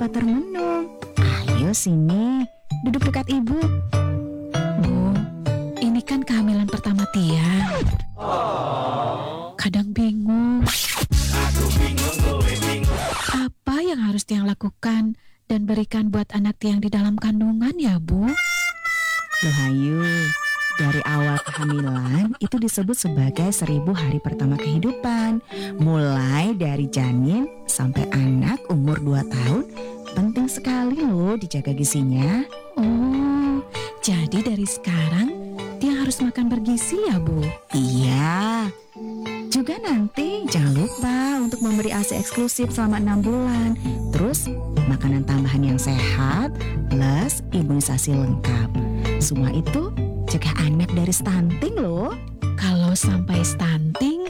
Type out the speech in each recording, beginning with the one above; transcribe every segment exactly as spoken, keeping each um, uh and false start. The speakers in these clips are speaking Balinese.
Pater Menung. Ayo sini, duduk dekat ibu. Bu, ini kan kehamilan pertama Tia. Kadang bingung. Apa yang harus Tiang lakukan dan berikan buat anak Tiang di dalam kandungan ya, Bu? Loh Hayu, dari awal kehamilan itu disebut sebagai seribu hari pertama kehidupan. Mulai dari janin sampai anak umur dua tahun, penting sekali loh dijaga gizinya. Oh, jadi dari sekarang Tiang harus makan bergizi ya, Bu? Iya. Juga nanti jangan lupa untuk memberi A S I eksklusif selama enam bulan. Terus, makanan tambahan yang sehat, plus imunisasi lengkap. Semua itu cegah anak dari stunting loh. Kalau sampai stunting,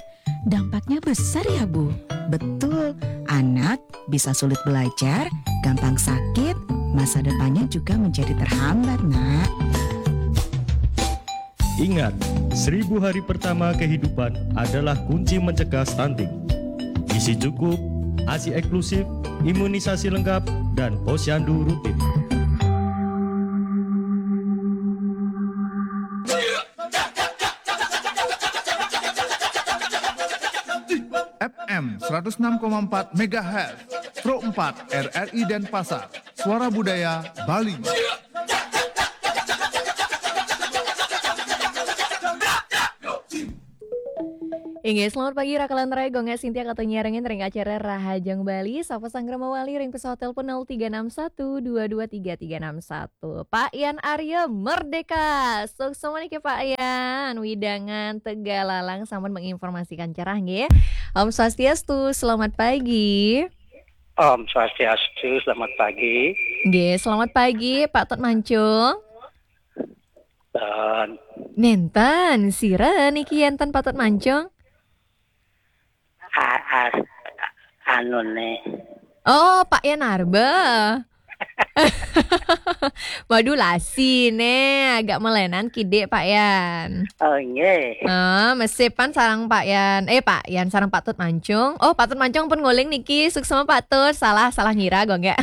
dampaknya besar ya, Bu? Betul, anak bisa sulit belajar, gampang sakit, masa depannya juga menjadi terhambat, Nak. Ingat, seribu hari pertama kehidupan adalah kunci mencegah stunting. Gizi cukup, A S I eksklusif, imunisasi lengkap, dan posyandu rutin. F M seratus enam koma empat megahertz, Pro empat R R I Denpasar, Suara Budaya Bali. Inggih, selamat pagi, Raka lan Rai, Gung Sintia, katanya rengin ring acara Rahajeng Bali, sapa sanggra mawali ring pesawat telepon nol tiga enam satu dua dua tiga tiga enam satu. Pak Yan Arya Merdeka. Suksma niki Pak Yan. Widangan Tegalalang sampun menginformasikan cerah nggih. Om Swastiastu, selamat pagi. Om Swastiastu, selamat pagi. Nggih, selamat pagi Pak Tut Mancung. Dan Nenten, sira niki enten Pak Tut Mancung? A-, as-, anu nih. Oh, Pak Yan Arba. Modulasi nih, agak melenan kidik Pak Yan. Oh, nggih. Ah, mesipan sarang Pak Yan. Eh, Pak Yan sarang Pak Tut Mancung. Oh, Pak Tut Mancung pun nguling niki. Suksma Pak Tut. Salah, salah ngira gung ya.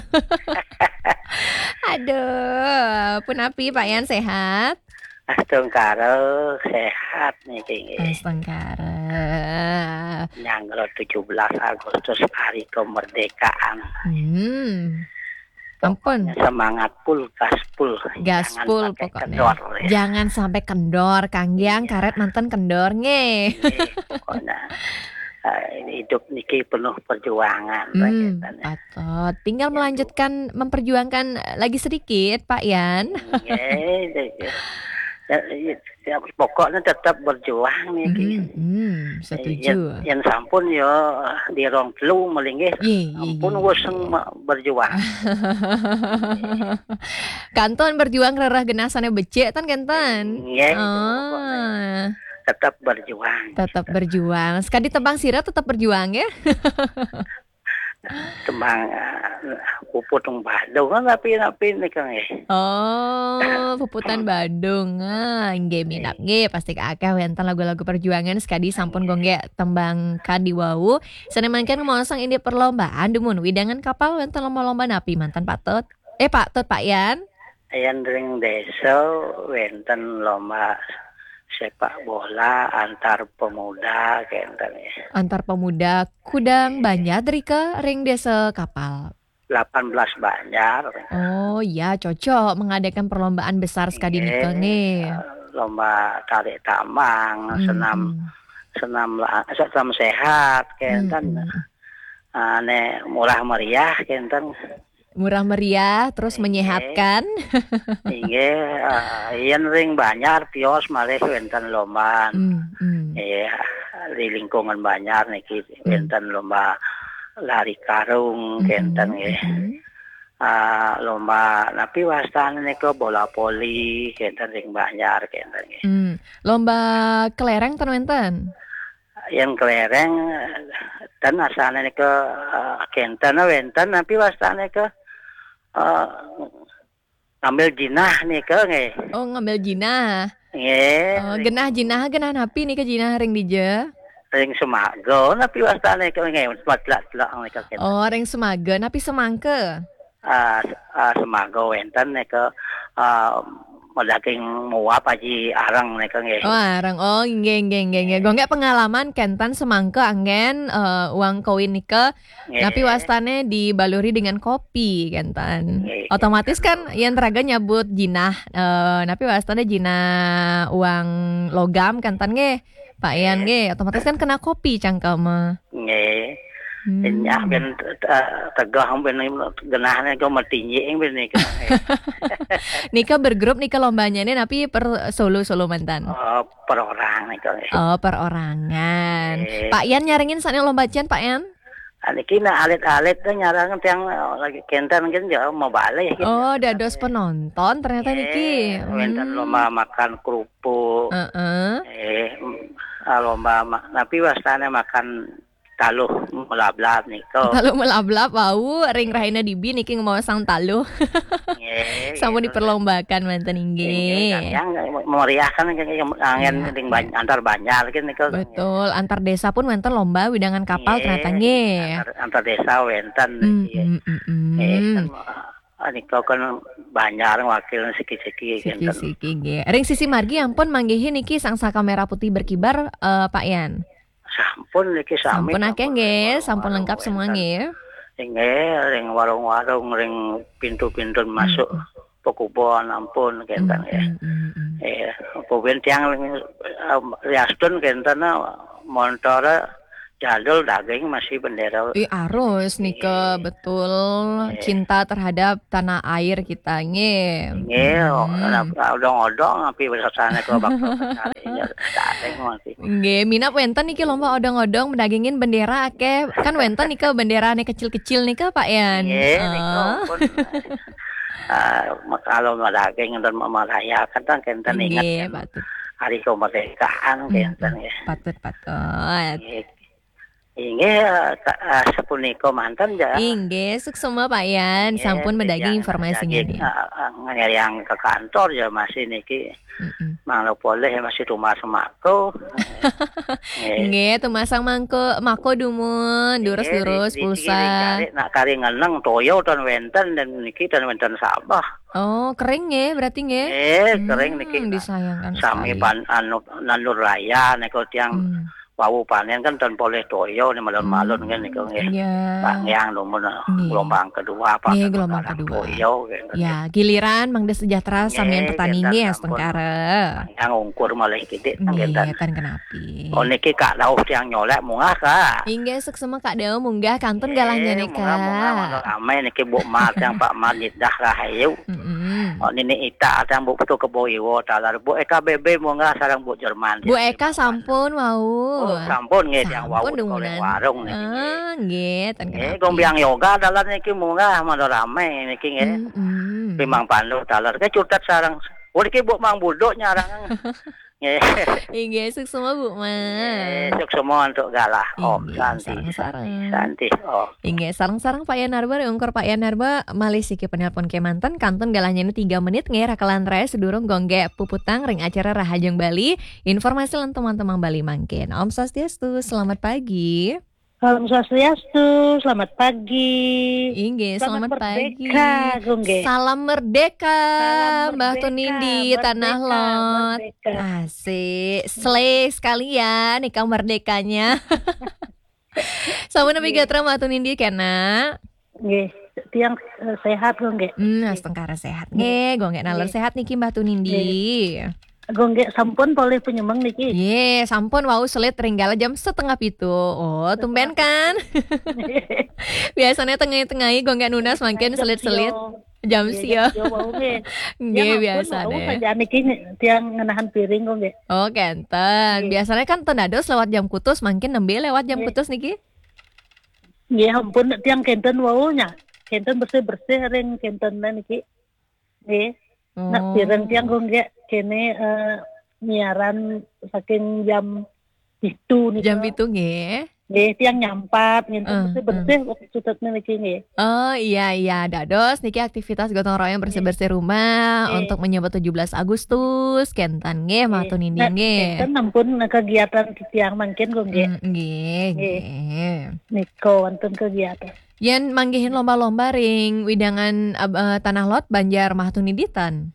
Aduh, punapi Pak Yan, sehat? Astungkara, sehat niki nggih. Astungkara. Nyanggra tujuh belas Agustus, hari kemerdekaan. Hmm. Ampun. Pokoknya semangat full, gaspol. Gaspol pokoknya. Jangan sampai kendor, ya. Jangan sampai kendor, kanggiang. Iya. Karet manten kendor nggih. Nggih, pokoknya, eh, hidup niki penuh perjuangan, hmm, begitu, ya. Patut. Tinggal, ya, melanjutkan, memperjuangkan, eh, lagi sedikit, Pak Yan. Nggih, nggih. Ya, ya, ya, pokoknya tetap berjuang niki. Hmm, hmm, setuju. Yen, yen sampun ya di rong telu malinggih. Ye, ye, ampun, ye, wis ye. Berjuang. Kantun berjuang rereh genah sane becik tan kenten. Nggih, itu pokoknya. Ah. Tetap berjuang. Tetap berjuang. Sekadi tembang sira tetap berjuang ya. Tembang, eh, puput wong Badung kan, tapi, tapi nika nggih. Oh, puputan Badung. Ah, nggih, minab nggih, pasti akeh wenten lagu-lagu perjuangan sekadi sampun, nggih, gung nggih tembang kadi wau. Sane mangkin mosong indik perlombaan dumun widangan kapal wenten lomba-lomba napi manten Pak Tut? Eh, Pak Tut, Pak Yan? Yen ring desa wenten lomba sepak bola antar pemuda kenten ya. Antar pemuda kudang banjar drika ring desa kapal? Delapan belas banjar. Oh, ya, cocok mengadakan perlombaan besar sekadi nika, nggih. Nggih, eh, lomba tarik tambang, hmm, senam, hmm, senam la-, senam sehat, kenten. Hmm, hmm. Ah, nek murah meriah, kenten. Murah meriah, terus, nggih, menyehatkan. Inggih, ah, yen ring banjar tios malih wenten lomba. Hmm, hmm. Nggih, di lingkungan banjar niki, hmm, wenten lomba lari karung, hmm, kenten nggih. Hmm. Ah, lomba napi wastane nika bola voli, kenten ring banjar, kenten nggih. Hmm. Lomba kelereng ten wenten? Yen kelereng, ten asane nika, eh, kenten wenten, napi wastane nika, eh, ngambil jinah nika nggih. Oh, ngambil jinah. Nggih. Oh, ring genah jinah, genah napi nika jinah ring dija? Ring Semaga, napi wastane nika nggih, matlak-tlak nika kenten. Oh, ring Semaga, napi semangka? Ah, ah, semangka wénten nika, ah, madaging muap aji areng nika nggih. Oh, areng. Oh, nggih, nggih, nggih, nggih. Nggih. Gonggé pengalaman kénten semangka anggén, eh, uang koin nika, nggih, napi wastané dibaluri dengan kopi kénten. Nggih. Otomatis kan yén raga nyebut jinah, eh, napi wastané jinah uang logam kénten nggih. Pak Yan nggih, otomatis kan kena kopi cangkemé. Nggih. Hmm. Nyah ben, eh, tegeh ben genahné kok matinjing ben nika. Nika bergrup nika lombanya nih, tapi per solo-solo mantan? Oh, per orang nika nggih. Oh, perorangan. Nggih. Pak Yan nyarengin sané lomba cian, Pak Yan? Ah, niki nah alit-alit téh nyarang tiang, eh, lagi kénten kan ya mau balik gitu. Oh, dados penonton ternyata niki. Nggih, wénten, hmm, lomba makan kerupuk. Heeh. Eh, mm, ah, lomba ma-, tapi wastané makan taluh melablab nika. Taluh melablab wau ring rahina dibi niki ngemaosang taluh. Nggih, sampun gitu. Diperlombakan manten inggih. Nggih, yang meriahkan kan yang anggén, iya, ring ban-, antar banjar kan nika. Betul, antar desa pun wénten lomba widangan kapal, nggih, ternyata nggih. Antar, antar desa wénten. Hmm, nggih. Hmm, hmm, hmm. Nggih, kan, ah, nika kan banjar wakil siki-siki kénten. Siki-siki nggih. Ring sisi margi ampun manggihin niki sangsaka merah putih berkibar, eh, Pak Yan. Sampun niki sami. Sampun akéh nggih, sampun lengkap semua nggih. Nggih, ring warung-warung, ring pintu-pintu masuk pekubon ampun kénten nggih. Hmm, hmm, hmm. Eh, pokoknya tiang ring, eh, riastun kénten, eh, montor jadul daging masih bendera. Ih, arus nika, nggih, betul. Nggih. Cinta terhadap tanah air kita nggih. Nggih, hmm, odong-odong tapi biasanya kalau bakal mencari ya daging masih. Nggih, minab wénten niki lomba odong-odong medagingin bendera akéh. Kan wénten nika bendera nih kecil-kecil nika, Pak Yan. Nggih, nika pun, eh, kalau medaging dan merayakan kan kénten ingat nggih, kan patut. Hari kemerdekaan, hmm, kénten nggih. Patut, patut. Nggih. Inggih, eh, ka-, eh, sapunika manten ja. Inggih, suksma Pak Yan. Nggih, sampun medaging informasinya nggih. Eh, eh, ngeriang ke kantor ya masih niki. Mm-mm. Mangda polih masih tumbas mako. Nggih. Nggih, tumbasang mangko, mako dumun, nggih, durus-durus, di, di pulsa. Nak kari ngeneng toya tan wénten dan niki tan wénten sabeh. Oh, kering nggih, berarti nggih? Nggih, kering niki. Hmm, disayangkan sekali. Sami pan-, anu, nandur raya nika tiang, hmm, wau panén kan tan polih toya nih malun-malun, hmm, kan nika nggih. Iya. Pak Ngiang dumun, nggih, gelombang kedua apa nggih, kan gelombang kedua. Toya gitu. Ya, giliran mangda sejahtera samian petani nggih, sampun. Astungkara. Yang ungkur malih kidik nggih, tan kenapi. Oh, niki Kak Dauh tiang nyolek munggah, Kak. Inggih, suksma Kak Dauh munggah kantun galahnya nika. Munggah, munggah, mangga ramé niki Bu Mar tiang Pak Mar Nidah Rahayu. Mm-mm. Oh, Nini Ita tiang Bu Putu Kebo Iwo taler Bu Eka Bebe munggah sareng Bu Jerman. Bu Eka sampun wau. Oh, sampun nggih tiang wau sampun di dumungan warung niki nggih. Ah, nggih, tan kenapi. Gombiang Yoga taler niki munggah mangda ramé niki nggih. Mm-mm. Pi Mang Pandu taler ke cutet sareng. Oh, niki Bu Mang Buduk nyarang. Nggih. Inggih, suksma Bu Mang. Nggih, suksma antuk galah. Om. Inggih, santi, sareng-sareng. Santi, santi. Om. Inggih, sareng-sareng Pak Yan Narba, ungkur Pak Yan Narba, malih siki penelpon kémanten, kantun galahnya ini tiga menit, nggih, rakelan raya sedurung gonggé puputang ring acara Rahajeng Bali, informasi lan teman-teman Bali mangkin. Om Swastiastu, selamat pagi. Salam Swastiastu, selamat pagi. Inggih, selamat pagi. Selamat merdeka, Gung, nggih. Salam merdeka, salam Mbah merdeka, Tunindi, merdeka, Tanah Lot. Merdeka. Asik. Slay sekalian, nika merdekanya. Sampun napi gatra Mbah Tunindi kena? Nggih, tiang, eh, sehat, Gung, nggih. Hmm, astungkara sehat. Nggih, Gung, nggih, naler sehat niki Mbah Tunindi. Nggih. Gung, nggih, sampun polih penyemeng niki. Nggih, sampun wau selit ring galah jam setengah pitu. Oh, tumben kan? Biasanya tengah-tengah Gung, nggih nunas mangkin selit-selit. Jam sia. Jam sia wau nggih. Nggih, ya, ampun, biasa wau deh. Saja niki tiang ngenahan piring kok nggih. Oh, kénten. Nggih. Biasanya kan ten dados lewat jam kutus, mangkin nembé lewat jam kutus niki? Nggih, ampun tiang kénten wau nya. Kénten bersih-bersih ring kénten niki. Nggih. Nak piring tiang kok nggih kéné, eh, nyiaran saking jam pitu nika. Jam pitu nggih. Nggih, tiang nyampat ngénten bersih-bersih waktu cutetnya niki nggih. Oh, iya, iya, dados niki aktivitas gotong royong bersih-bersih rumah untuk menyambut tujuh belas Agustus, kénten nggih, Mbah Tunindi nggih. Kénten ampun kegiatan tiang mangkin kok nggih. Hmm, nggih, nggih. Nika wonten kegiatan. Yén manggihin lomba-lomba ring wewidangan, ab-, eh, Tanah Lot, Banjar, Mahatunindi, ten?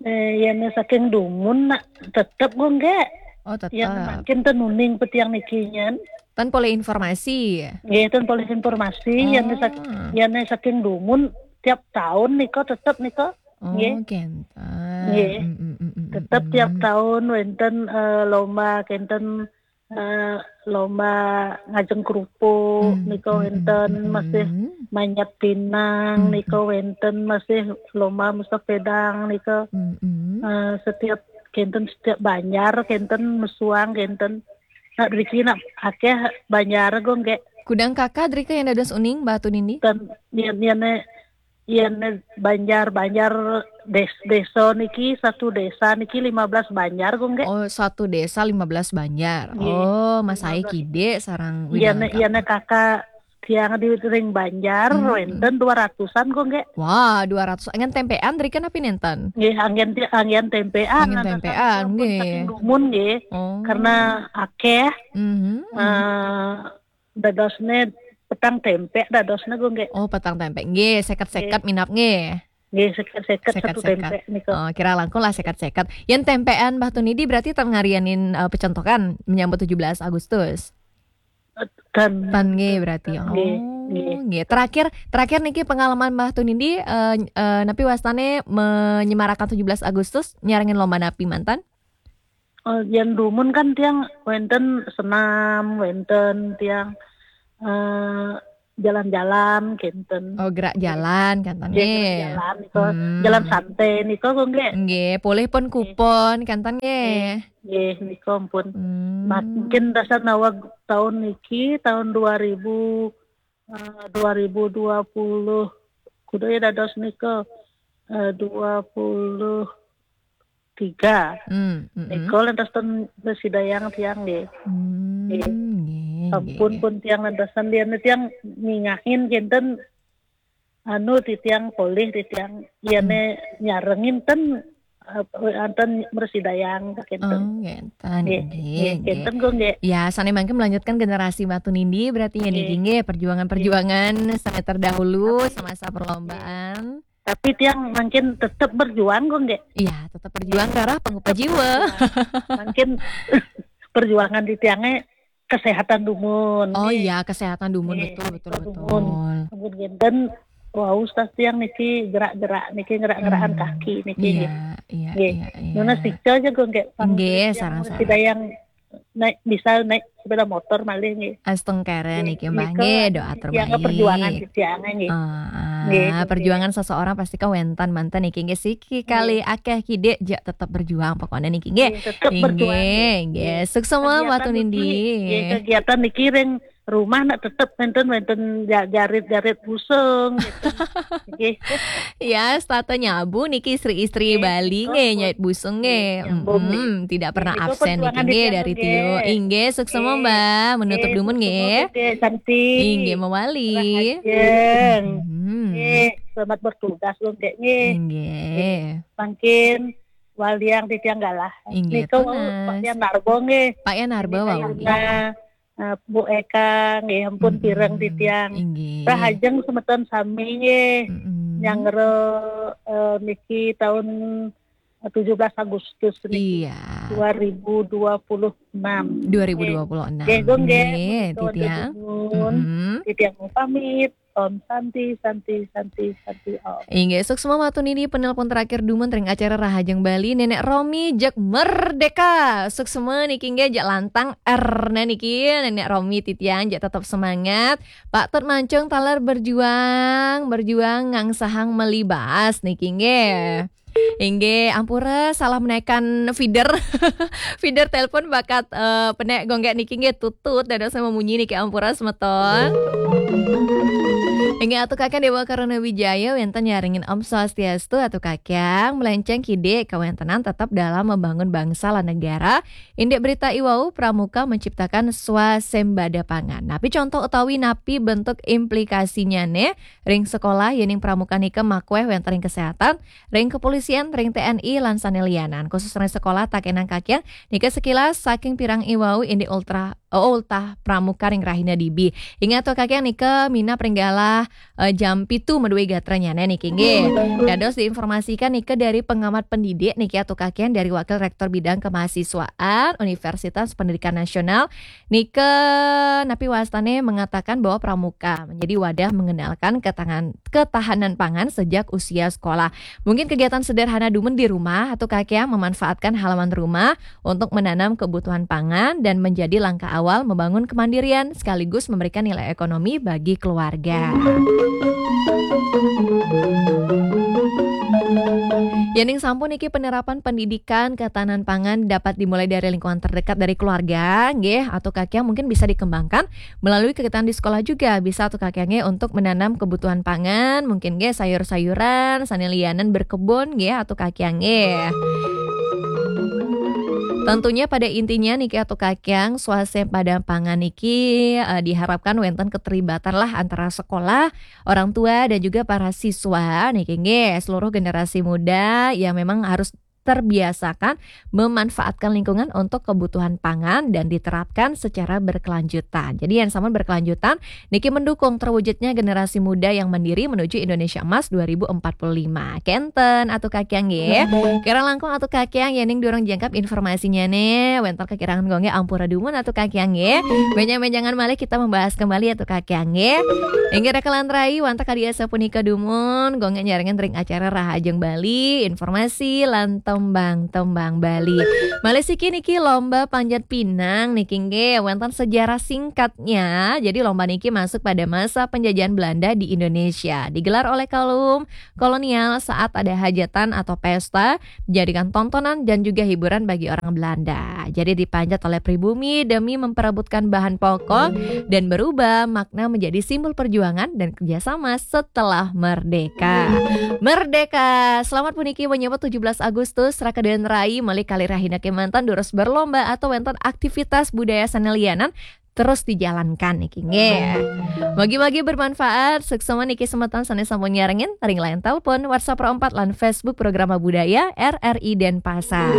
Eh, yén saking dumun, nak, tetep gung, nggih. Oh, tetep. Yén mangkin ten uning pé tiang niki nyén. Ten polih informasi. Nggih, ten polih informasi. Yén sak-, Oh. yén saking dumun tiap taun nika tetep nika. Oh, Nggih. Kénten. Nggih. Mm, mm, mm, mm, mm, Tetep tiap mm. taun wénten, eh, lomba kénten, eh, lomba ngajeng kerupuk Mm, nika mm, wénten, mm, mm, masih mm. manjat pinang Mm, nika mm. wénten, masih lomba musafedang nika. Mm, mm. Eh, setiap kénten, setiap banjar kénten, mesuang kénten. Nak driki nak akéh banjar gung, nggih. Kudang kaka driki yén dados uning, Mbah Tunindi? Ten, yén, yén, yén banjar, banjar des-, désa niki, satu désa niki lima belas banjar gung, nggih. Oh, satu désa lima belas banjar. Nggih. Oh, Mas Ai Lima belas. Kidik sareng Yén, wewidangan yén kaka. Kaka tiang di ring banjar, Mm, mm. wénten dua ratusan gung, nggih. Wah, dua ratus. Anggén témpéan driki napi nénten? Nggih, anggén ti-, anggén témpéan, Anggén lantasan témpéan, sampun nggih. saking dumun, nggih. Oh. Karena akéh, Mhm, mhm. eh, dadosné petang témpé dadosné gung, nggih. Oh, petang témpé. Nggih, séket-séket Nggih. minab, nggih. Nggih, séket-séket satu Séket-séket. témpé nika. Oh, kira langkung lah séket-séket. Yén témpéan Mbah Tunindi berarti ten ngarianin, eh, pecentokan menyambut tujuh belas Agustus? Ten. Ten nggih berarti. Nggih, Oh, nggih. nggih. Terakhir, terakhir niki pengalaman Mbah Tunindi, eh, eh, napi wastané menyemarakan tujuh belas Agustus, nyarengin lomba napi manten? Oh, yén dumun kan tiang wénten senam, wénten tiang, eh, jalan-jalan kénten. Oh, gerak jalan kénten Nggih, gerak nggih. jalan nika. Hmm. Jalan santai nika gung, nggih. Nggih, polih pun Nggih. kupon kénten nggih. Nggih, nggih, nika ampun. Hmm. Mat-, mungkin dasar nawag taun niki, taun dua ribu, eh, dua ribu dua puluh, kuda ya dados nika, eh, dua puluh tiga. Hmm, mm-mm. Nika lantas ten besidayang tiang nggih. Hmm, Nggih. nggih, nggih, Ampun nggih. pun tiang lantasan lian tiang ningahin kénten anu titiang polih titiang yén Hmm. nyarengin ten, eh, anten mresidayang kénten. Oh, kénten, Nggih, nggih, nggih, nggih. kénten gung, nggih. Ya, sané mangke melanjutkan generasi Mbah Tunindi berarti ya, Nggih. niki, nggih, perjuangan-perjuangan sané terdahulu Tapi semasa perlombaan. Tapi tiang mangkin tetep berjuang gung, nggih. Iya, tetap berjuang, Rara, pangupah jiwa. Mangkin perjuangan di tiangnya kesehatan dumun, Oh nggih. iya, kesehatan dumun, Nggih, betul, betul, kesehatan betul. dumun. Ampun kénten, wau, tas tiang niki gerak-gerak niki, gerak-gerakan Hmm, kaki niki, iya, nggih. iya, Nggih. iya, iya. Nuna sica aja gung, nggih, pang Nggih, tiang sarang-sarang. Sidayang naik, bisa naik sepeda motor malih, nggih. Astungkara Nggih, niki, Mbah, nika nggih, doa tiang terbaik. Perjuangan di tiang, nggih. Ah, Nggih, nggih. perjuangan seseorang pasti kawentan manten niki, nggih, siki Nggih. kali akeh kidik, jak tetap berjuang pokoknya niki, nggih. Nggih, tetap Nggih, berjuang, nggih. nggih. Suksma, Mbah Kegiatan Tunindi. niki, nggih, kegiatan niki ring rumah nak tetep wénten, wénten ja-, jarit-jarit busung, gitu. Nggih. Ya, setata nyabu niki istri-istri Nggih, Bali nggih, nggih, nyait busung nggih, nggih. nyambung nggih. Mm-mm, tidak pernah Nggih, absen niki perjuangan nggih di tiang dari nggih. Tio. Inggih, suksma Nggih. Mbah, menutup Nggih, dumun suksma nggih. nggih, cantik. Inggih, mewali. Rahajeng. Mm-mm. Nggih, selamat bertugas, Bung, nggih. Inggih. Nggih. Mangkin waliang titiang galah. Inggih, Nika wau tunas. Pak Yan Narbo nggih. Pak Yan Narbo Nggih, wau nggih. Yuna, eh, Bu Eka nggih, ampun Mm-mm. pireng titiang. Inggih. Rahajeng semeton sami nggih. Mm-mm. Nyanggra, eh, niki taun, eh, tujuh belas Agustus niki. Iya. Dua ribu dua puluh enam. Dua ribu dua puluh enam. Nggih, Gung, nggih. Nggih, Menika wonten titiang. dumun. Mm-mm. Titiang pamit. Om Santi, Santi, Santi, Santi, Om. Inggih, suksma matur nini penelpon terakhir dumun ring acara Rahajeng Bali, Nenek Romi jeg Merdeka. Suksma niki nggih, jeg lantang R-ne niki, Nenek Romi titiang, jeg tetep semangat. Pak Tut Mancung taler berjuang, berjuang ngangsahang melibas niki nggih. Inggih, ampura salah menekan feeder. Feeder telepon bakat, eh, penek gonggek niki nggih tutut, dados memunyi niki, ampura semeton. Inggih, Atu Kakang Dewa Karuna Wijaya, wenten nyarengin Om Swastiastu, Atu Kakang, melenceng kidik kawentenan tetap dalam membangun bangsa lan negara, indik berita iwau pramuka menciptakan swasembada pangan. Napi contoh utawi napi bentuk implikasinyane ring sekolah, yening pramuka nika makweh wenten ring kesehatan, ring kepolisian, ring T N I, lan sane lianan. Khusus ring sekolah, takenang kakian, nika sekilas saking pirang iwau indik ultra, oh, ultah pramuka ring rahina dibi. Inggih atu Kak Yang, nika minab ring galah eh, jam pitu madué gatranya niki nggih. Dados diinformasikan nika dari pengamat pendidik niki atu Kak Yang, dari Wakil Rektor Bidang Kemahasiswaan Universitas Pendidikan Nasional. Nika napi wastané mengatakan bahwa pramuka menjadi wadah mengenalkan ketangan, ketahanan pangan sejak usia sekolah. Mungkin kegiatan sederhana dumun di rumah atu Kak Yang, memanfaatkan halaman rumah untuk menanam kebutuhan pangan dan menjadi langkah awal membangun kemandirian sekaligus memberikan nilai ekonomi bagi keluarga. Yéning sampun niki penerapan pendidikan ketahanan pangan dapat dimulai dari lingkungan terdekat dari keluarga, nggih, atu Kak Yang, mungkin bisa dikembangkan melalui kegiatan di sekolah juga, bisa atu Kak Yang nggih, untuk menanam kebutuhan pangan, mungkin nggih sayur-sayuran, sané lianan berkebun nggih atu Kak Yang nggih. Tentunya pada intinya niki atu Kak Yang, swasembada pangan niki eh, diharapkan wénten keterlibatan lah antara sekolah, orang tua dan juga para siswa niki nggih, seluruh generasi muda yang memang harus terbiasakan memanfaatkan lingkungan untuk kebutuhan pangan dan diterapkan secara berkelanjutan. Jadi yang sama berkelanjutan niki mendukung terwujudnya generasi muda yang mandiri menuju Indonesia Emas dua ribu empat puluh lima. Kénten atu Kak Yang nggih. Kirang langkung atu Kak Yang, yéning durung jangkep informasinya nih, wénten kakirangan gongé, ampura dumun atu Kak Yang nggih. Bénjang-bénjangan malih kita membahas kembali atu Kak Yang nggih. Inggih raka lan rai, wantah kadi asapunika dumun, gongé nyarengin ring acara Rahajeng Bali, informasi lan tembang-tembang Bali. Malih siki niki lomba panjat pinang niki nggih, wénten sejarah singkatnya. Jadi lomba niki masuk pada masa penjajahan Belanda di Indonesia. Digelar oleh kaum kolonial saat ada hajatan atau pesta, dijadikan tontonan dan juga hiburan bagi orang Belanda. Jadi dipanjat oleh pribumi demi memperebutkan bahan pokok dan berubah makna menjadi simbol perjuangan dan kerjasama setelah merdeka. Merdeka! Selamat puniki menyambut tujuh belas Agustus, raka dan rai, malih kalih rahina kémanten durus berlomba atau wénten aktivitas budaya sané lianan terus dijalankan niki nggih. Mugi-mugi bermanfaat. Suksma niki semeton sané sampun nyarengin ring line telepon, WhatsApp Pro empat lan Facebook Programa Budaya R R I Denpasar.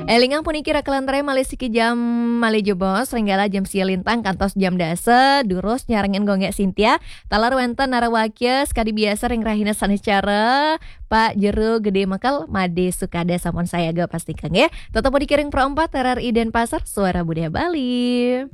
Élingang puniki raka lan rai, malih siki jam malih jebos, ring galah jam sia lintang kantos jam dasa, durus nyarengin Gung Gék Sintia, taler wénten narawakya sakadi biasa ring rahina saniscara, Pak Jero Gedé Mekel, Madé Sukada sampun sayaga pastika nggih. Tetep puniki ring Pro empat R R I Denpasar, Suara Budaya Bali.